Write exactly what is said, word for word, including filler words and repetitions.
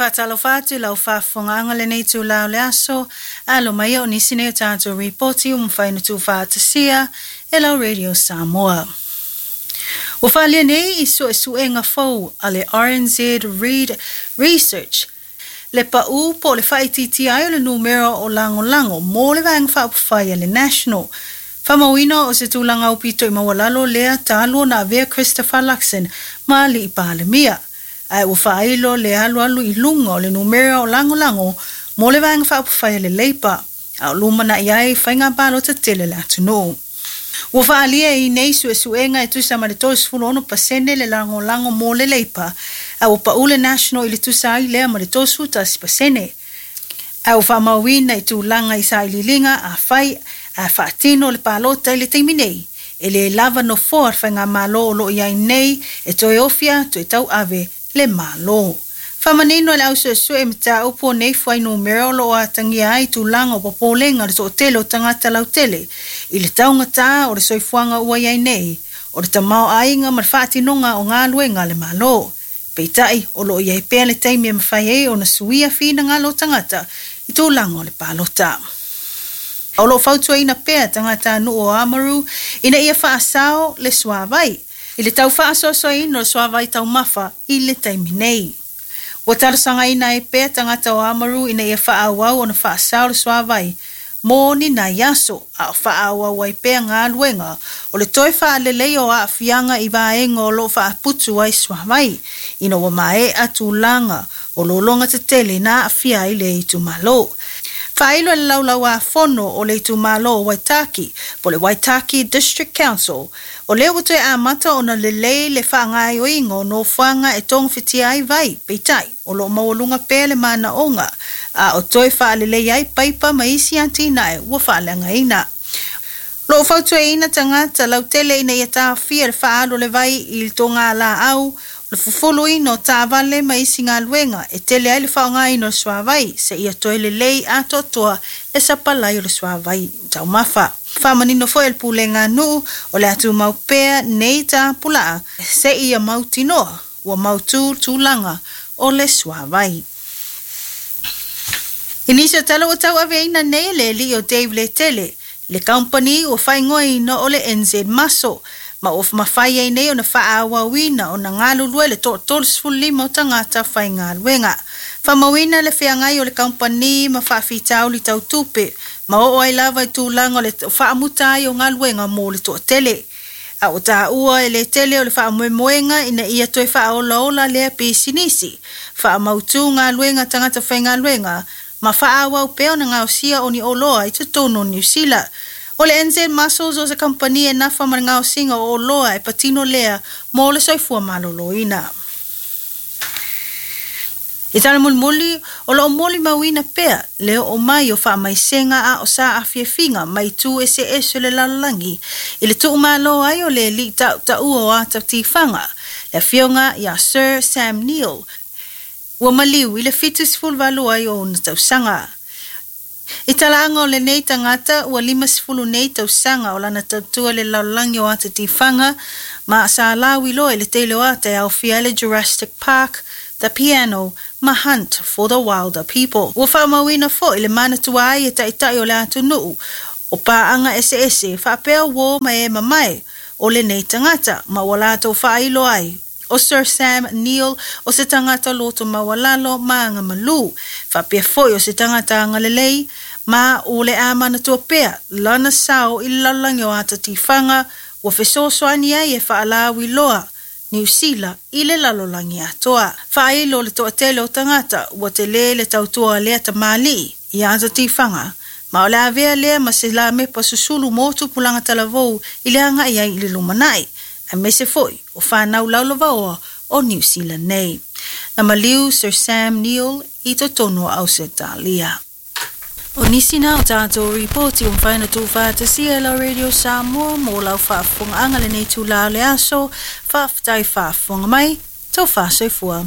Faatalofa atu lau faafofogaaga lenei itulā o le aso, alo mai o nisi nei o tatou ripoti ua mafai ona tuufaatasia e lau Radio Samoa. Ua faaalia nei i suesuega fou a le R N Z Reid Research le paʻu po o le faaitiitia ai o le numera o lagolago mo le vaega faaupufai a le National. Faamauina o se tulaga aupito i maualalo lea talu ona avea Christopher Luxon ma alii Palemia. Ae ua faailo le alualu i luga o le numera o lagolago mo le vaega faaupufai a le Labour, a o lumanai ai faiga palota tele le atunuu. Ua faaalia i nei suesuega e tusa ma le tolusefulu ono pasene le lagolago mo le Labour, a ua pau le National i le tusa ai lea ma le tolusefulu tasi pasene. A ua faamauina i tulaga i sailiiliga afai a faatino le palota i le taimi nei, e lē lava nofoa le faigamalo o loo i ai nei e toe ofi atu e tauave le Malo. Faamanino e le ausuesue mataupu o nei fuainumera o loo atagia ai tulaga o popolega o le toatele o tagata lautele i le taugatā o le soifuaga ua i ai nei, o le tamaoaiga ma le faatinoga o galuega a le Malo. Peitai o loo i ai pea le taimi e mafai ai ona suia finagalo o tagata i tulaga o le palota. O loo fautuaina pea tagata nuu o Amaru ina ia faasao le suavai i le tau faasoasoaina o le suavai taumafa i le taimi nei. Ua talosagaina ai pea tagata o Amaru ina ia faaauau ona faasao le suavai mo ni nai aso, a o faaauau ai pea galuega o le toe faalelei o aafiaga i vaega o loo faaputu ai suavai, ina ua maea tulaga o lologa tetele na aafia ai le itumalo. Faailo e le laulauāfono o le itumalo o Waitaki, po le Waitaki District Council, o lea ua toe amata ona lelei le faagaoioiga o nofoaga e togafitia ai vai, peitai o loo maualuga pea le manaoga, a o toe faalelei ai paipa ma isi atinae ua faaleagaina. Loo fautuaina tagata lautele ina ia taofia le faaalu o le vai i le togalaau, le fufuluina o taavale ma isi galuega e tele ai le faaaogaina o le suavai, seia toe lelei atoatoa le sapalai o le suavai taumafa. Faamanino foi e le pulega nuu o le atumau pea nei tapulaa seia mautinoa ua mautū tulaga o le suavai. I nisi o tala ua tauaveina nei le alii o Dave Letele, le kampani ua faaigoaina o le N Z Muscle, ma ua mafai ai nei ona faaauauina ona galulue le toatolosefulu lima o tagata faigaluega. Faamauina le feagai o le kampani ma faafitauli tautupe, ma oo ai lava i tulaga o le faamuta ai o galuega mo le toatele. A o taua e le tele o le faamoemoega ina ia toe faaolaola lea pisinisi, faamautū galuega tagata faigaluega, ma faaauau pea ona gaosia o ni oloa i totonu o Niu Sila. O le N Z Muscles o se kampani e nafa ma le gaosiga o oloa e patino lea mo le soifua maloloina. I tala mulimuli, o loo molimauina pea le oo mai o faamaisega a o sa afiafiga mai itu eseese o le lalolagi i le tuumalo ai o le alii tautaua o ata tifaga, le afioga ia Sir Sam Neill, ua maliu i le fitusefulu valu ai o ona tausaga. I talaaga o lenei tagata ua limasefulu nei tausaga o lana tautua le lalolagi o ata tifaga ma sa lauiloa i le tele o ata e aofia ai le Jurassic Park, The Piano ma Hunt for the Wilder People. Ua faamauina foi le manatua ai e taitai o le atunuu o paaga eseese faapea uō ma e mamae o lenei tagata ma ua latou faailo ai o Sir Sam Neill o se tagata loto maualalo ma agamalū, faapea foi o se tagata agalelei ma o le a manatua pea lana sao i le lalolagi o ata tifaga ua fesoasoani ai e faalauiloa Niu Sila i le lalolagi atoa. Faailo le toatele o tagata ua telē le tautua lea tamalii i ata tifaga, ma o le avea lea ma se lamepa susulu mo tupulaga talavou i le agai ai i le lumanai, aemaise foi o fanau laulavaoa o Niu Sila nei. Na maliu Sir Sam Neill i totonu o Ausetalia. O nisi na o tatou ripoti ua mafai ona tuufaatasia e lau Radio Samoa mo lau faafofogaaga lenei itulā o le aso. Faafetai faafofoga mai, taufa soifua.